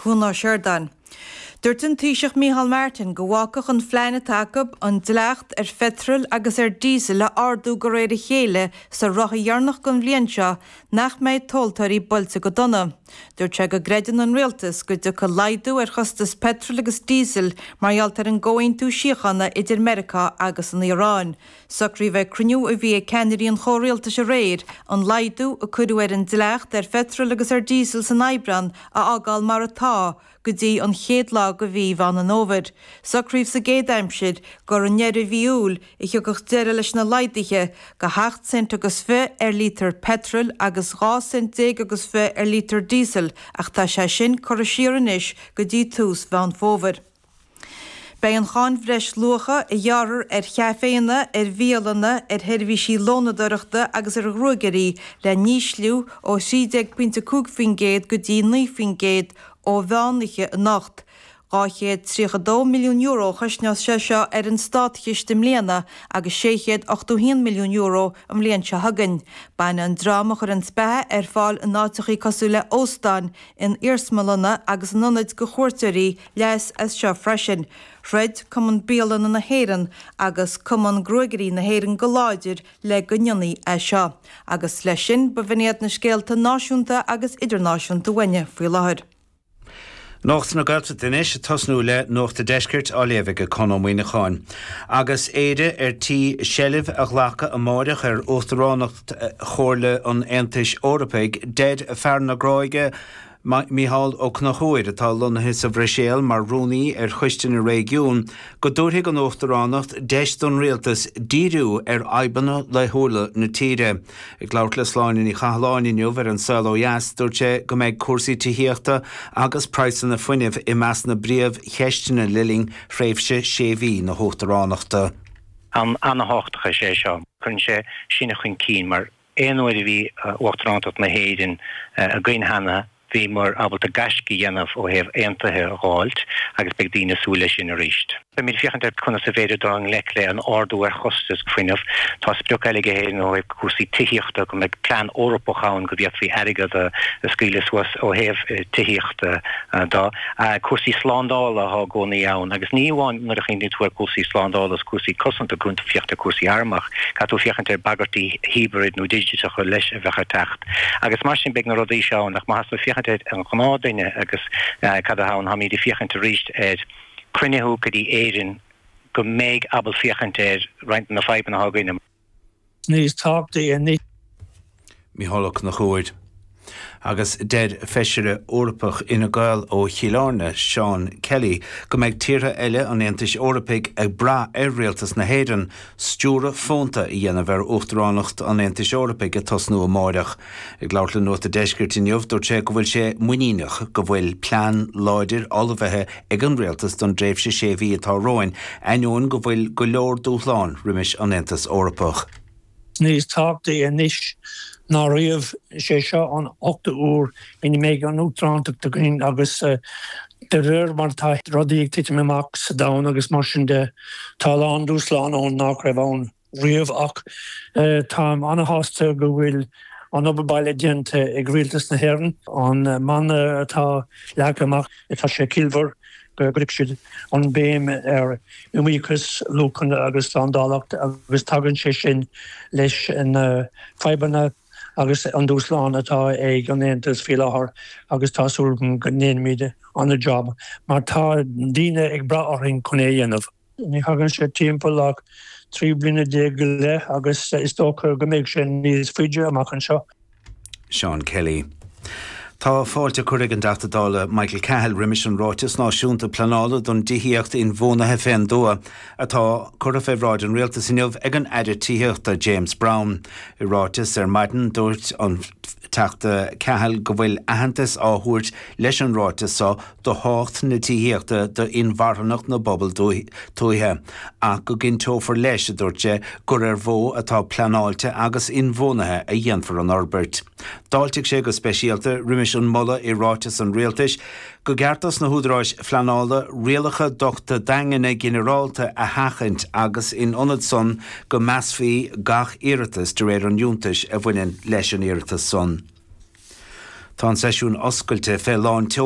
Cuan Ó Seireadáin. Dúirt an Taoiseach Micheál Martin go bhfágfadh an phlean atá acu an dleacht ar pheitreal agus ar diesel a ardú de réir a chéile sa ráithe dheireanach den bhliain seo nach mbeidh tomhaltóirí buailte go dona. Dúirt sé go gcreideann an rialtas go dtiocfaidh laghdú ar chostas peitril agus díosail mar gheall ar an gcomhaontú síochána idir Meiriceá agus an Iaráin. Socraíodh ag cruinniú a bhí ag ceannairí an chomhrialtais aréir an laghdú a cuireadh ar an dleacht ar pheitreal agus ar dhíosal san Aibreán a fhágáil mar atá go dtí an chéad lá de mhí Mheán an Fhómhair. Socraíodh sa gcéad aimsir gur i ndeireadh mhí Iúil a thiocfadh deireadh leis na laghduithe go hocht cent agus fiche ar lítear peitril agus 12 cent agus fiche ar lítear díosail ach tá sé sin curtha siar anois go dtí tús Mheán Fómhair. Beidh an cháin bhreisluacha a ghearrfar ar chaiféanna, ar bhialanna, ar sheirbhísí lónadóireachta agus ar ghruagairí le n-ísliú ó 13.5% go dtí 9% ó mheán oíche anocht. €232 milliún a chosnós sé seo ar an státchiste i mbliana agus €681 milliún an bhliain seo chugainn. Bainfidh an dream a chuireann beatha ar fáil in áiteachaí cosúil le óstáin, in iarsmalanna agus in ionaid do chuairteoirí leas as seo freisin. Throid Cumann Bialanna na hÉireann agus Cumann Gruagairí na hÉireann go láidir le go ndéanfaí é seo. Agus leis sin, b'in iad na scéalta náisiúnta agus idirnáisiúnta uainne faoi láthair. Nuacht na Gaeltachta anois, ag tosnú le Nuacht an Deiscirt á léamh ag Conn Ó Muíneacháin. Agus Éire ar tí seilbh a ghlacadh amáireach ar Uachtaránacht Chomhairle an Aontais Eorpaigh, deir fear na Gráige, Mícheál Ó Conchúir, atá lonnaithe sa Bhruiséil mar Rúnaí ar Choiste na Réigiún, go dtabharfaidh an Uachtaránacht deis don Rialtas díriú ar fhadhbanna laethúla na tíre. Ag labhairt le Sláine Ní Chathalláin inniu ar An Saol Ó Dheas, dúirt sé go mbeidh cúrsaí tithíochta agus praghsanna fuinnimh i measc na bpríomhcheisteanna le linn thréimhse sé mhí na hUachtaránachta. Am an-thábhachtach is ea é seo. Cuireann sé sinne chun cinn mar aon uair a bhí Uachtarántacht na hÉireann againn cheana, bhíomar ábalta gaisce a dhéanamh ó thaobh aontuithe a dh'fháilt agus beidh daoine ag súil leis sin arís. Beimid ag féachaint ar conas a bhféidir dul i ngleic le an ardú ar chostas fuinnimh. Tá sprioc eile ag Éirinn ó thaobh cúrsaí tithíochta, go mbeidh plean Eorpach ann go bhféadfaí airgead a scaoileadh suas ó thaobh tithíochta de. Cúrsaí slándála atá i gcónaí ann agus ní amháin nuair a chuimhníonn tú ar chúrsaí slándála is cúrsaí cosanta, caithfidh tú féachaint ar chúrsaí arm ach caithfidh tú féachaint ar bhagairtí hibrid nó digiteacha leis a bheadh ag teacht. Agus mar sin beidh na rudaí seo ann ach má tá tú ag féachaint ar an ghnáthduine agus cad atá ann, táimid ag féachaint arís ar cruinnithe go dtí Éirinn go mbeidh ábalta féachaint ar roinnt de na fadhbanna atá againne. níos tábhachtaí anois. Mícheál Ó Conchúir. Agus deir Feisire Eorpach Fhine Gael ó Chill Airne, Seán Kelly, go mbeidh tíortha eile an Aontais Eorpaigh ag brath ar rialtas na hÉireann stiúradh fónta a dhéanamh ar Uachtaránacht an Aontais Eorpaigh ag tosnú amáireach. Ag labhairt le Nuacht an Deiscirt inniu, dúirt sé go bhfuil sé muiníneach go bhfuil plean láidir ullmhaithe ag an rialtas don dtréimhse sé mhí atá romhainn, ainneoin go bhfuil go leor dúshlán roimis an Aontas Eorpach. Níos tábhachtaí anois ná riamh, is é seo an ochtú uair ina mbeidh an Uachtarántacht againn agus de réir mar atá rudaí ag titim amach sa domhan agus mar sin de, tá a lán dúshlán ann nach raibh ann. riamh ach táim ana-shásta go bhfuil an obair baile déanta ag Rialtas na hÉireann. An mana atá leagtha amach, tá sé ciallmhar go gcuirfidh siad an béim ar iomaíochas, luachanna agus slándálacht agus tagann sé sin leis na fadhbanna agus an dúshlán atá ag an Aontas faoi láthair agus tá súil agam go ndéanfaimid ana-jab mar tá daoine ag brath orainn chun é a dhéanamh. Ní thagann sé timpeall ach 13 bliana go leith agus is dócha go mbeidh sé níos faide amach anseo. Seán Kelly. Tá fáilte curtha ag an dTeachta Dála Michael Cahill roimis an Ráiteas Náisiúnta Pleanála don dTithíocht Inbhuanaithe fén dTuath atá curtha fé bhráid an Rialtais inniu ag an Aire Tithíochta James Browne. I ráiteas ar maidin dúirt an Teachta Cahill go bhfuil aitheantas á thabhairt leis an ráiteas so do thábhacht na tithíochta d'inmharthanacht na bpobal tuaithe, ach go gcinnteofar leis, a dúirt sé, gur ar mhodh atá pleanáilte agus inbhuanaithe a dhéanfar an fhorbairt. D'fháiltigh sé go speisialta roimis an moladh i ráiteas an Rialtais go gceart dos na húdaráis phleanála rialacha dochta daingne ginearálta a sheachaint agus in ionad san go measfaí gach iarratas de réir an fhiúntais a bhaineann leis an iarratas san. Tá an seisiún oscailte fé lán tseoil.